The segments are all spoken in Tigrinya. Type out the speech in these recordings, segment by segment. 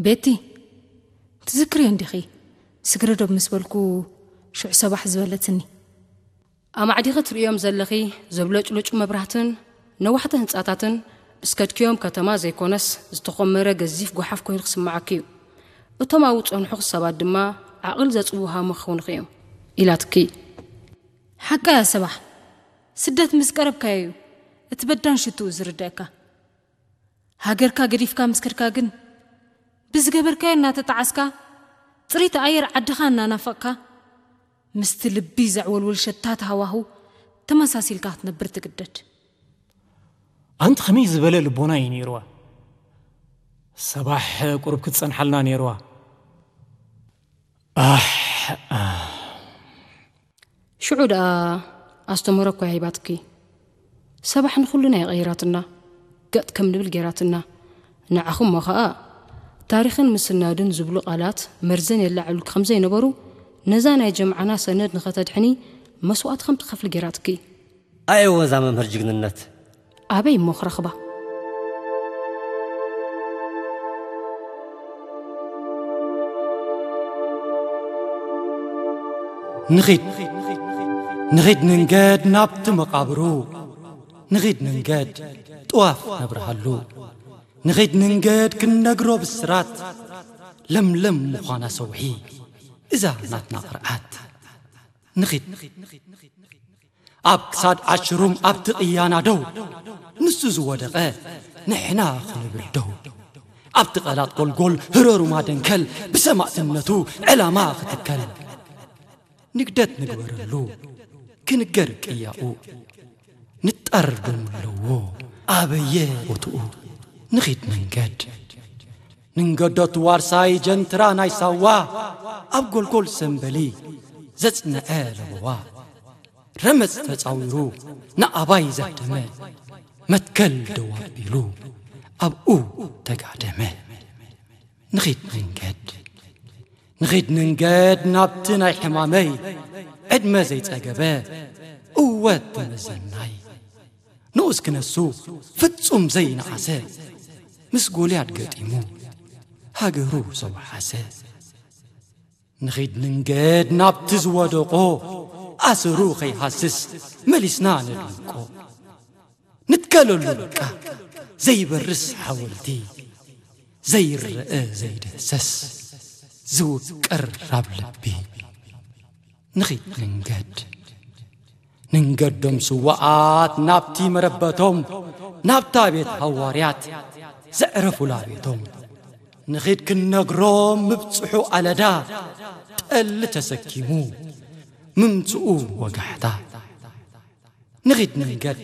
ቤቲ፣ ትዝክርዮ እንዲኺ? ስግረ ዶብ ምስ በልኩ ሽዑ ሰባሕ ዝበለትኒ። ኣማዕዲኺ ትርእዮም ዘለኺ ዘብለጭልጩ መብራህትን ነዋሕቲ ህንጻታትን፣ እስከድክዮም ከተማ ዘይኮነስ ዝተኾመረ ገዚፍ ጓሓፍ ኮይኑ ክስምዓኪ እዩ። እቶም ኣብኡ ዝጸንሑ ሰባት ድማ ዓቕል ዘጽውሃሙ ክኾኑኺ እዮም፣ ኢላትኪ። ሓቃ እያ ሰባሕ። ስደት ምስ ቀረብካዮ እዩ እቲ በዳን ሽትኡ ዝርደኣካ። ሃገርካ ገዲፍካ ምስ ከድካ ግን፣ ብዝገበርካዮ እናተጣዓስካ፣ ጽሬት ኣየር ዓድኻ እናናፈቕካ፣ ምስቲ ልቢ ዘዕወልውል ሸታት ሃዋህው ተመሳሲልካ ክትነብር ትግደድ። ኣንቲ ከመይ ዝበለ ልቦና እዩ ነይርዋ? ሰባሕ ቁሩብ ክትጸንሓልና ነይርዋ። ኣሕ፣ ኣሕ። ሽዑ ደኣ ኣስተምህሮ እኮ እያ ሂባትኪ። ሰባሕ ንኹልና እያ ቀይራትና፣ ገጥ ከም ንብል ገይራትና። ንዓኹም እሞ ኸኣ ታሪኽን ምስናድን ዝብሉ ቃላት መርዘን የላዕሉልኪ ከም ዘይነበሩ፣ ነዛ ናይ ጀምዓና ሰነድ ንኸተድሕኒ መስዋእቲ ከም ትኸፍሊ ገይራትኪ። ኣየወ እዛ መምህር ጅግንነት። ኣበይ እሞ ክረኽባ? ንኺድ፣ ንኺድ ንንገድ ናብቲ መቓብሩ፣ ንኺድ ንንገድ ጥዋፍ ነብርሃሉ፣ ንኺድ ንንገድ ክንነግሮ ብስራት፣ ለምለም ምዃና ሰውሒ እዛ ናትና ቅርዓት። ንኺድ። ኣብ ክሳድ ኣሽሩም ኣብቲ ቅያና ደው፣ ንሱ ዝወደቐ ንሕና ክንብል ደው። ኣብቲ ቀላጥ ጎልጎል ህረሩማ ደንከል፣ ብሰማእትነቱ ዕላማ ክትከል። ንግደት ንግበረሉ፣ ክንገር ቅያኡ። ንጣር ደሙ ኣለዎ ኣበየ ቦትኡ። ንኺድ መንገድ። ንንገዶ እቲ ዋርሳይ ጀንትራ ናይ ሳዋ፣ ኣብ ጎልጎል ሰንበሊ ዘጽንዐ ለበዋ። ረመጽ ተጻዊሩ ንኣባይ ዘህደመ፣ መትከል ደው ኣቢሉ ኣብኡ ተጋደመ። ንኺድ መንገድ፣ ንኺድ መንገድ ናብቲ ናይ ሕማመይ፣ ዕድመ ዘይጸገበ እወ ተመዘናይ። ንኡስ ክነሱ ፍጹም ዘይነኣሰ፣ ምስ ጎልያድ ገጢሙ ሃገሩ ዘውሓሰ። ንኺድ ንንገድ ናብቲ ዝወደቆ፣ ኣሰሩ ኸይሃስስ መሊስና ነድምቆ። ንትከለሉ በቃ ዘይበርስ ሓወልቲ፣ ዘይረአ ዘይድህሰስ ዝውቀር ኣብ ልቢ። ንኺድ ንንገድ። ንንገዶም ስዋኣት ናብቲ መረበቶም፣ ናብታ ቤት ሃዋርያት ዘዕረፉላ ቤቶም። ንኺድ ክንነግሮም ምብጽሑ ኣለዳ፣ ጠሊ ተሰኪሙ ምምጽኡ ወጋሕታ። ንኺድ ንንገድ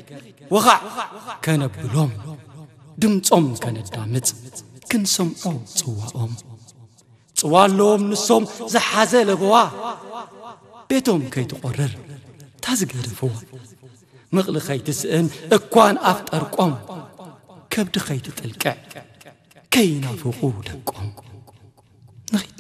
ወኻዕ ከነብሎም፣ ድምጾም ከነዳምጽ ክንሰምዖ ጽዋኦም። ጽዋ ኣለዎም ንሶም ዝሓዘ ለበዋ፣ ቤቶም ከይትቖርር ታዝገደፍዋ። ምቕሊ ከይትስእን እኳን ኣፍ ጠርቆም፣ ከብዲ ከይትጥልቅዕ ከይናፍቑ ደቆም። ንኺድ